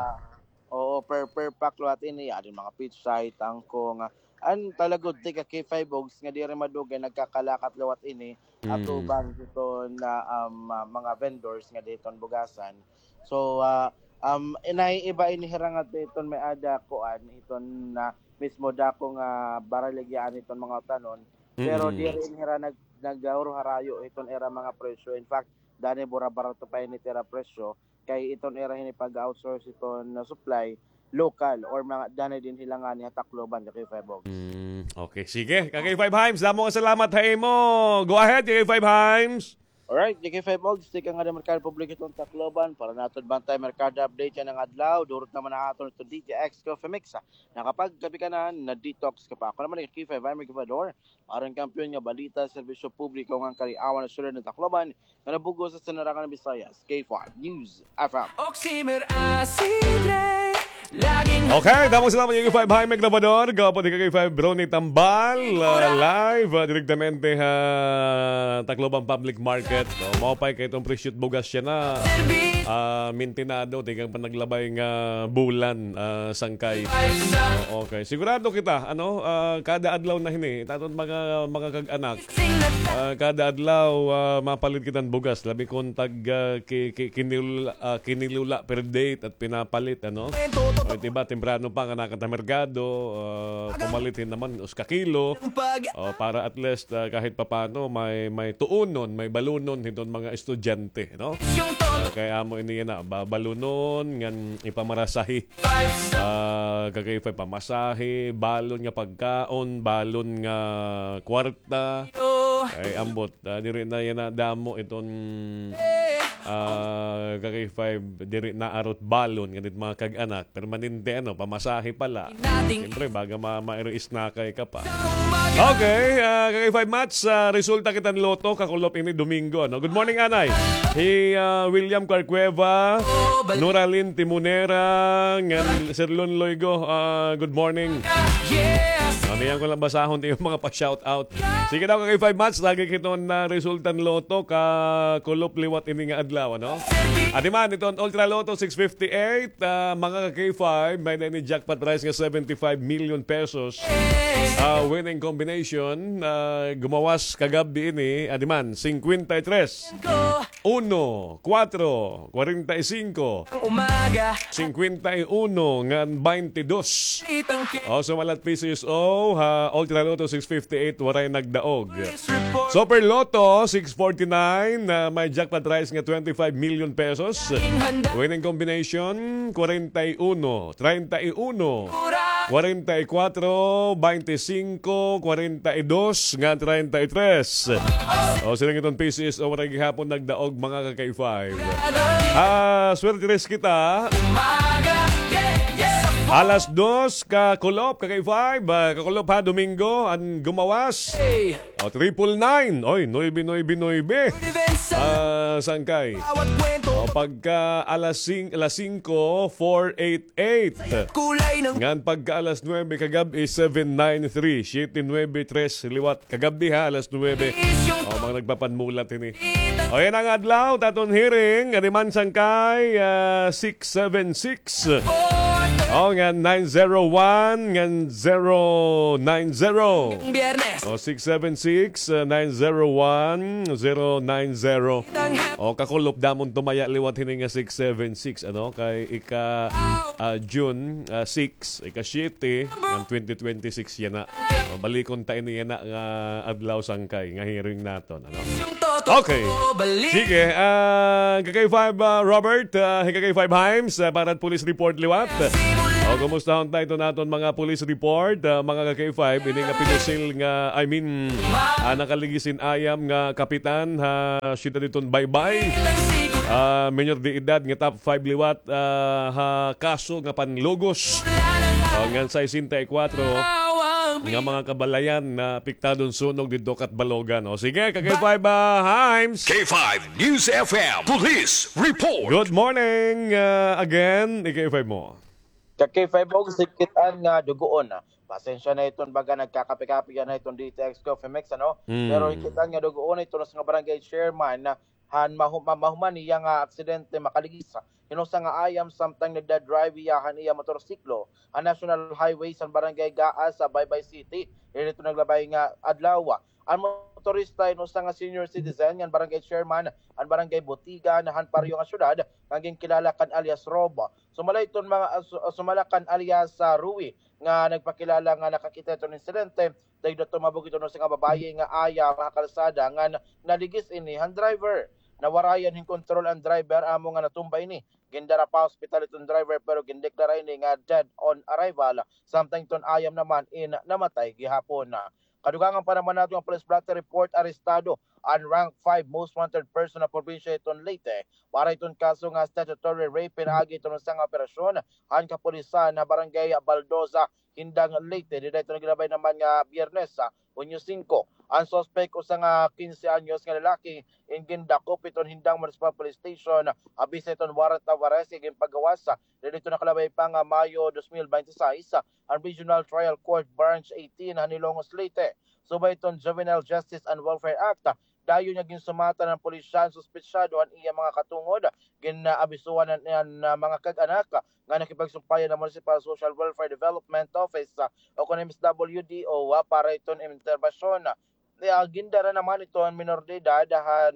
oo, per, per pack liwat ini, adi mga pitsay, tangko, nga, an talagod, tika K five Bogs, nga diri madugay, nagkakalakat liwat ini, mm, atubang hiton, ah, um, ah, mga vendors nga diton bugasan. So, ah, um, inay iba ini hira nga hiton may-ada kuan, hiton, ah, mismo dako nga baraligyaan hiton mga utanon. Pero, mm, diri ini hira nag-, nagharuharayo hiton ira mga presyo. In fact, danay bura-barato pa ini it ira presyo kay iton ira hini pag-outsource hiton, ah, supply local or mga danay dinhi la ngani ha Tacloban, K K five Bogs. Mm, okay. Sige, K K five Himes, damo nga salamat ha imo. Go ahead, K K five Himes. Alright, K K five Bogs, tikang nga merkado publiko hiton Tacloban para naton Bantay Merkado Update yana nga adlaw. Durot naman an aton ito D J X Coffee Mix, ah. Nakapagkape ka na, na-detox ka pa. Ako naman, K K five Himes Gobernador, aron kampiyon nga balita, serbisyo publiko ngan kaliawan ha syudad han Tacloban, nga nabug-os ha sinarakan nga Visayas, K five News F M. Oximer Acidre, laging... Okay, damo nga salamat, K K five Himes Gobernador, gwapo ni K K five Brony Tambal, ah, live, ah, direktamente ha Tacloban Public Market. So, maupay kay iton presyo hit bugas yana, ah, mintinado, tikang pa naglabay nga bulan, ah, sangkay. Okay. Sigurado kita, ano, ah, kada adlaw na hini, it aton mga, mga kag-anak, ah, kada adlaw, ah, mapalit kita hin bugas, labi kon tag, ah, ki-, ki-, kinil-, ah, kinilo la per date at pinapalit, ano? O, it iba, temprano pa nga nakanhi ha merkado, ah, pumalit hin naman, usa ka kilo. O, para at least, ah, kahit papano, may, may tuonon, may balunon hiton mga estudyante, no? Ah, kay amo ini yana, ba-, balunon, ngan ipamarasahi. Ah, K K five, pamasahe, balon nga pagkaon, balon nga kwarta. Ay, ambot, ah, diri na yana damo iton, ah, K K five, diri na arot balon, ngan it mga kag-anak, permanente, ano, pamasahe pa la. Siyempre, baga ma-, ma-, isnakay ka pa. Okay, ah, K K five Mats, ah, resulta kita hin lotto, kakulop ini Domingo, ano? Good morning, Anay. Hi, ah, William Carcueva, Noralyn Timonera, ngan Sir Lon Loigo, ah, good morning. Mamiyan ko lang basahon it iyo mga pa-shout out. Sige daw, K K five Mats, lagi kita hin resulta hin lotto, kakulop liwat ini nga adlaw, ano? Adi man, iton Ultra Lotto six fifty-eight, ah, mga K K five, may-ada ini jackpot prize nga seventy-five million pesos. Ah, winning combination, ah, gumawas kagab-i ini, adi man, cincuenta y tres, uno, cuatro, cuarenta y cinco, cincuenta y uno, ngan veintidós. O, sumalat P C S O ha Ultra Lotto six fifty-eight, waray nagdaog. Super Lotto six forty-nine, na may jackpot prize nga twenty-five million pesos. Winning combination, kwarenta y uno, treinta y uno, kwarenta y kwatro, baynte singko, kwarenta y dos, ngan treinta y tres. O, sila iton P C S O, waray gihapon nagdaog, mga ka-K five. Ah, swerte rin kita. Alas dos, kakulop, ka-K five, ah, kakulop ha, Domingo, an gumawas. O, triple nine. Oy, nuebe, nuebe, nuebe. Ah, sangkay. O, pagka alas sing-, alas singko, four eight eight. Ngan pagka alas nuebe kagab-i, seven nine three. Siyete nuebe tres liwat. Kagab-i ha, alas nuebe. O, mga nagpapanmulat ini. O, yana nga adlaw, it aton hearing, adi man sangkay, ah, six seven six. O, ngan nine zero one, ngan zero nine zero. O, six seven six, ah, nine zero one, zero nine zero. O, kakulop, damo an tumaya liwat hini nga six seven six, ano? Kay ika, ah, June, ah, six, ika siyete, ngan twenty twenty-six yana. O, balikon ta ini yana nga adlaw sangkay, nga hearing naton, ano? Okay. Sige, ah, ka-K five, ah, Robert, ah, ka-K five Himes, ah, para police report liwat. O, kumustahon ta iton aton mga police report, ah, mga ka-K five, ini nga pinusil nga, I mean, ah, nakaligis hin ayam nga kapitan ha siyudad hiton Baybay. Ah, minor de edad nga top five liwat, ah, ha kaso nga panlugos. O, ngan sesenta y kwatro nga mga kabalayan nga apektado hin sunog didto ha Catbalogan. O, sige, ka-K five, ah, Himes. K five News F M Police Report. Good morning, ah, again, ika-K five mo. Ka-K five, og sikit-an nga dugoon. Pasensya na iton baga nagkakape-kape yana iton D T X Coffee Mix, ano? Mm. Pero sikit-an nga dugoon, iton usa nga barangay chairman, han mahu-, ma-, mahuman niya nga aksidente, makaligis hin usa nga ayam samtang nagda-drive hiya han iya motorsiklo ha National Highway han Barangay Gaas ha Baybay City. Diri iton naglabay nga adlaw. An motorista hin usa nga senior citizen ngan barangay chairman han Barangay Botigan han parehas nga syudad nga ginkilala kan alias Rob. Sumala iton mga, ah, su-, ah, sumala kan alias, ah, Rui nga nagpakilala nga nakakita hiton insidente, dagda tumabog iton usa nga babaye nga ayam ha kalsada ngan naligis ini han driver. Nawarayan hin kontrol an driver, amo nga natumba ini. Gindara pa ospital iton driver pero gindeklara ini nga dead on arrival, samtang iton ayam naman in namatay gihapon. Kadugangan pa naman naton nga police blotter report, arestado an rank five most wanted person ha probinsya hiton Leyte para hiton kaso nga statutory rape pinaagi hiton usa nga operasyon han kapulisan ha Barangay Baldosa, Hindang, Leyte. Dida iton naglabay naman nga Biyernes, ah, Hunyo singko. An suspek, usa nga kinse anyos nga lalaki, in gindakop hiton Hindang Municipal Police Station, ah, bisa hiton warrant of arrest nga ginpagawas, ah, dida iton nakalabay pa nga Mayo dos mil baynte sais, ah, an Regional Trial Court Branch eighteen han Hilongos, Leyte. Subay hiton Juvenile Justice and Welfare Act, ah, dayon nga ginsumatan han pulisya an suspetsado han iya mga katungod, gin-, ah, abisuhan an, an, ah, mga kag-anak, ah, nga nakipagsumpayan han Municipal Social Welfare Development Office, ah, o kon M S W D O, ah, para hiton interbasyon. Ah, gindara naman iton minor de edad han,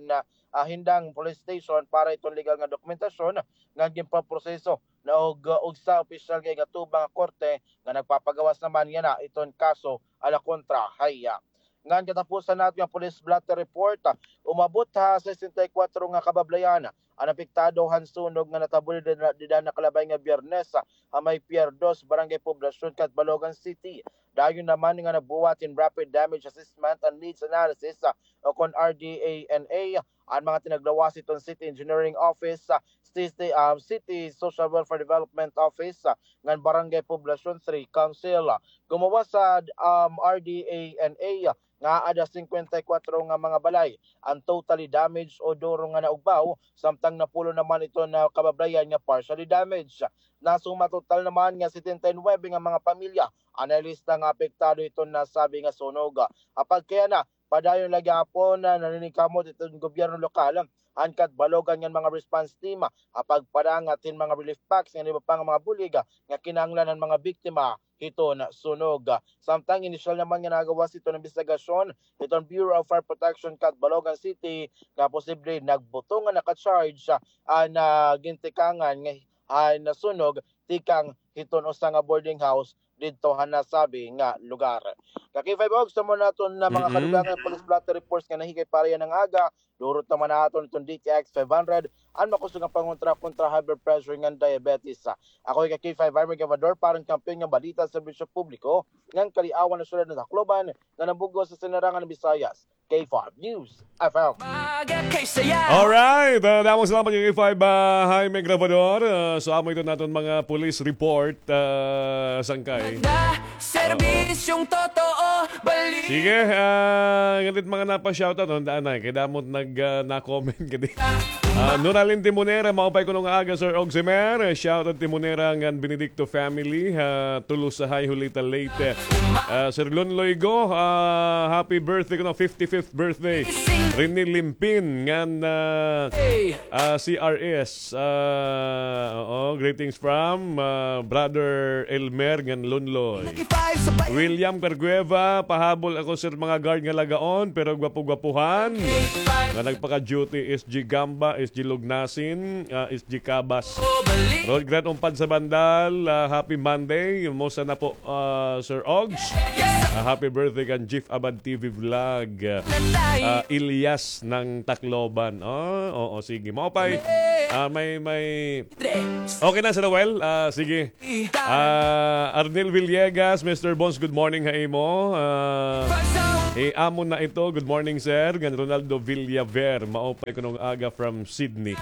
ah, Hindang Police Station para iton legal nga dokumentasyon nga ginpaproseso na og, ah, ugsa opisyal nga igatubang nga korte nga nagpapagawas naman yana iton kaso ala kontra ha iya. Ngan katapusan naton nga police blotter report, ah, umabot ha sesenta y kwatro nga kabablayan an apektado han sunog nga natabuli dida, dida nakalabay nga Biyernes, ah, ha may Pier Dos, Barangay Poblacion, Catbalogan City. Dayon naman nga nagbuhat hin rapid damage assessment and needs analysis, ah, o kon R D A N A, an mga tinaglawas hiton City Engineering Office, ah, City, ah, City Social Welfare Development Office, ah, ngan Barangay Poblacion Three Council. Gumawas sa, um, R D A N A, nga ada singkwenta y kwatro nga mga balay an totally damaged o duro nga naugbaw, samtang napulo naman iton nga kabablayan nga partially damaged. Nasuma total naman nga setenta y nuebe nga mga pamilya an nailista nga apektado hiton nasabi nga sunog. Apagkayana, padayon la gihapon nga naniningkamot iton gobyerno lokal, an Catbalogan ngan mga response team, ha pagpadangat hin mga relief packs ngan iba pa nga mga bulig nga kinahanglan han mga biktima hiton sunog. Samtang inisyal naman nga nagawas hiton imbestigasyon hiton Bureau of Fire Protection Catbalogan City nga posible nagbutong nga naka-charge an, ah, gintikangan nga han sunog tikang hiton usa nga boarding house didto han nasabi nga lugar. Ka K five Ogs, amo na aton nga mga kadugangan nga police blotter reports nga nahikay para yana nga aga. Durot naman naton iton D T X five hundred, an makusog nga pangontra kontra high blood pressure ngan diabetes. Ako hi ka K five Army Gravador, para han kampiyon nga balita, serbisyo publiko, ngan kaliawan han syudad han Tacloban, nga nabug-os ha sinirangan han Visayas. K five News F M. Alright, ah, damo nga salamat kay K five, ah, Jaime Gravador. Ah, so, amo iton aton mga police report, ah, sangkay. Serbisyong totoo, balik. Sige, ah, ngan it mga napa-shoutout, no, daan na, kay damo it nag, ah, na-comment kadi. Ah, Nuralin Timonera, maupay kuno nga aga, Sir Ogs Emer. Shoutout Timonera ngan Benedicto family, ah, Tulusahay, Julita, Leyte. Ah, Sir Lon Loigo, ah, happy birthday kuno, fifty-fifth birthday. Rene Limpin ngan, ah, ah, C R S. Ah, oo, greetings from, ah, Brother Elmer ngan Lonloy. William Cargueva, pahabol ako, sir, mga guard nga lagaon, pero gwapo-gwapuhan. Nga nagpaka-duty, S G Gamba, S G Lugnasin, ah, S G Cabas. Rod Grant Umpad sa Bandal, ah, happy Monday. Musta na po, ah, Sir Ogs? Ah, happy birthday kan Jeff Abad T V Vlog. Ah, Ilyas ng Tacloban. Ah, oo, sige. Maupay. Ah, may, may Okay na, Sir Noel? Ah, sige. Ah, Arnel Villegas, Mister Bones, good morning ha imo. Ah, eh, amo na ito. Good morning, sir. Ngan Ronaldo Villaver, maupay kuno nga aga from Sydney.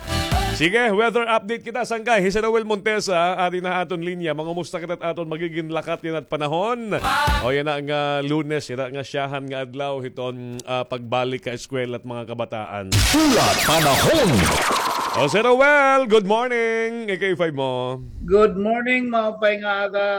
Sige, weather update kita, sangkay. Hi Sir Noel Montesa, adi na aton linya. Mangumusta kita aton magigin lakat yana nga panahon. O yana nga Lunes, yana nga syahan nga adlaw hiton, ah, pagbalik ka eskwela it mga kabataan. Pula Panahon. O, Sir Noel, good morning. K K five mo. Good morning, maupay nga aga,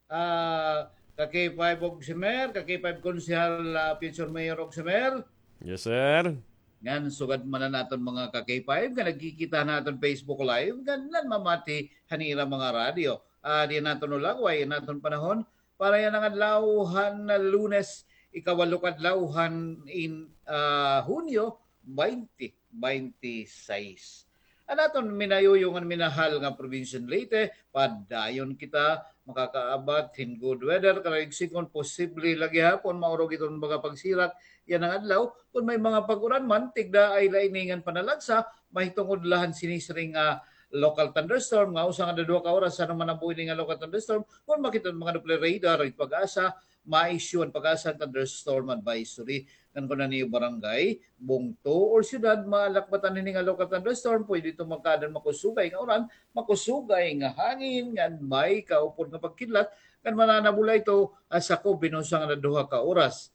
ah, ka K five Ogs Emer, ka K five Konsehal, ah, future Mayor Ogs Emer. Yes, sir. Ngan sugad man an aton mga ka K five nga nagkikita han aton Facebook Live, ngan nanmamati han ira mga radyo. Ah, adi an aton ulagway, an aton panahon, para yana nga adlaw han Lunes, ikawalo ka adlaw han in, ah, Hunyo, twenty twenty-six. An aton minayuyo ngan minahal nga probinsya han Leyte, padayon kita makakaabat hin good weather, karuyag siring kon posible la gihapon maurog iton mga pagsirak yana nga adlaw. Kon may mga pag-uran man, tigda ay la ini ngan panalagsa, mahitungod la han sinisiring nga local thunderstorm nga usa nga duha ka oras. Ano man an buhi ini nga local thunderstorm, kon makita an mga Doppler radar, it PAGASA, ma-issue an PAGASA hin thunderstorm advisory. Ngan kon an iyo barangay, bungto, or syudad, malakbatan hini nga local thunderstorm, pwede ito magkaada hin makusugay nga uran, makusugay nga hangin, ngan may kaupod nga pagkidlat, ngan mananabo la ito, ah, sakob hin usa ngan duha ka oras.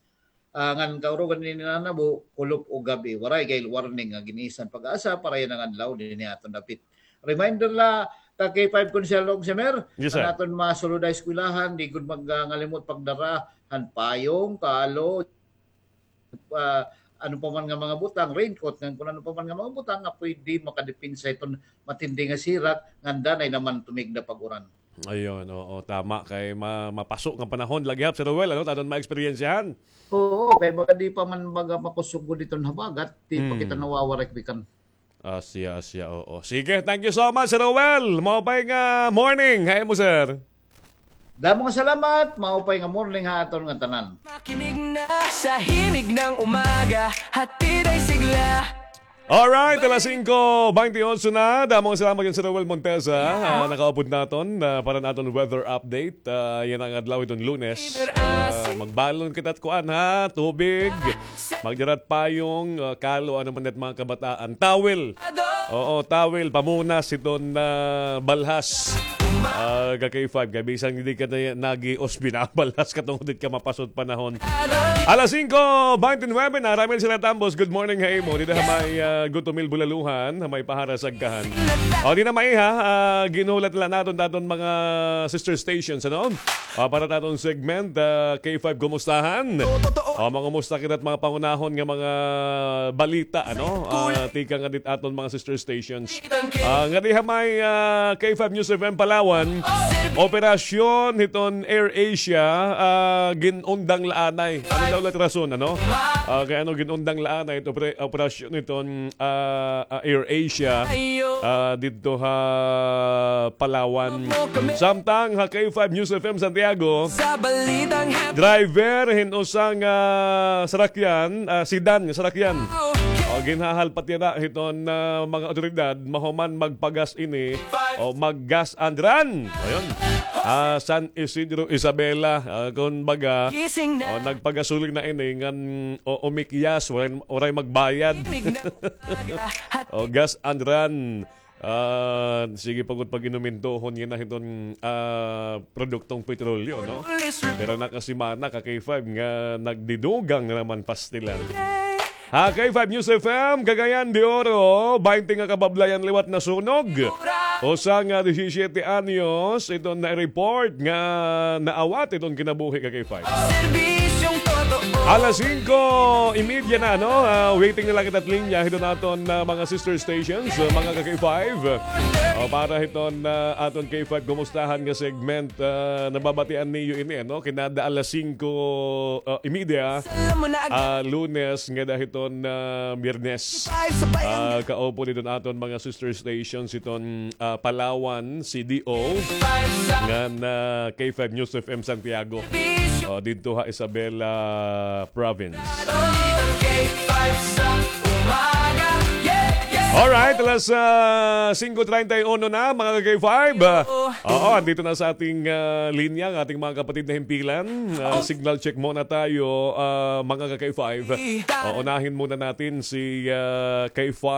Ah, ngan kaurugan hini nanabo, kulop ug gab-i. Waray gad warning nga gin-isa han PAGASA para yana nga adlaw dinhi ha aton dapit. Reminder la, ka K five Konsehal Ogs Emer, yes, sir, an aton mga sulod ha eskwelahan, di gud mag-, ah, ngalimot pagdara han payong, kalo, ah, ano pa man nga mga butang, raincoat, ngan kon ano pa man nga mga butang nga pwede makadepensa hiton matindi nga sirak, ngan danay naman tumigda pag-uran. Ayun, oo, tama. Kay ma-, mapaso nga panahon la gihap, Sir Noel, ano, aton maeksperiensyahan. Oo, kay baka di pa man baga makusog gud iton habagat, di pa kita nawawaray bikan. Asya, asya, oo. Sige, thank you so much, Sir Noel. Maupay nga morning ha imo, sir. Damo nga salamat, maupay nga morning ha aton nga tanan. Makinig na sa Himig ng Umaga, hatid ay sigla. Alright, alas singko beintiotso na. Damo nga salamat kan Sir Noel Montesa. Ah, nakaupod naton, ah, para naton weather update. Ah, yana nga adlaw hiton Lunes. Ah, magbalon kita hit kuan, ha, tubig. Magdara hit payong, ah, kalo, ano man it mga kabataan. Towel. Oo, towel, pamunas hiton, ah, balhas. Ah, ka K five, kay bisan diri ka na, nag-ios, binabalhas ka tungod it ka mapaso it panahon. Alas singko beintinuebe na, Ramil Sila Tambos, good morning ha imo. Dida ha may, ah, Gutumil Bulaluhan, ha may Pahara Sagkahan. O, di na maiha, ah, ginhulat la naton, naton mga sister stations, ano? Ah, para naton segment, ah, K five Kumustahan. O, mangumusta kita hit mga pangunahon nga mga balita, ano? Ah, tikang nga dit aton mga sister stations. Ah, ngadi ha may, ah, K five News F M Palawan. Operasyon hiton Air Asia, ah, gin-undang la anay. Ano daw la it rason, ano? Ah, kay ano gin-undang la anay it opera-, operasyon hiton, ah, ah, Air Asia, ah, didto ha Palawan. Samtang ha K five News F M Santiago, driver hin usa nga sarakyan, ah, sedan nga sarakyan. O, ginhahalpat yana hiton, ah, mga otoridad, mahuman magpagas ini o mag-gas and run. Ayun. Ah, San Isidro Isabela, ah, kun baga, o, nagpagasolina ini ngan, o, umikyas, waray, waray magbayad. O, gas and run. Ah, sige pa gud pag-inumintuhon yana hiton, ah, produktong petrolyo, no? Pero nakasimana ka K five nga nagdidugang na naman pastilan. Ha K five News F M, Cagayan de Oro, baynte nga kabablayan liwat nasunog. Usa nga disisyete anyos, iton na-report nga naawat iton kinabuhi ka K five. Alas singko y media na, no? Ah, waiting na la kita hit linya hiton aton, ah, mga sister stations, ah, mga ka K five. O, para hiton, ah, aton K five kumustahan nga segment, ah, nababatian niyo ini, no? Kinada alas singko, ah, y media, ah, Lunes ngada hiton, ah, Biyernes. Ah, kaupod hiton aton mga sister stations hiton, ah, Palawan, C D O, ngan, ah, K five News F M Santiago. O, didto ha Isabela Province. Alright, alas, ah, singko treinta y uno na, mga ka K five. Ah, oo, andito na sa ating, ah, linya ang ating mga kapatid na himpilan. Ah, signal check muna tayo, ah, mga ka K five. Ah, unahin muna natin si, ah, K five.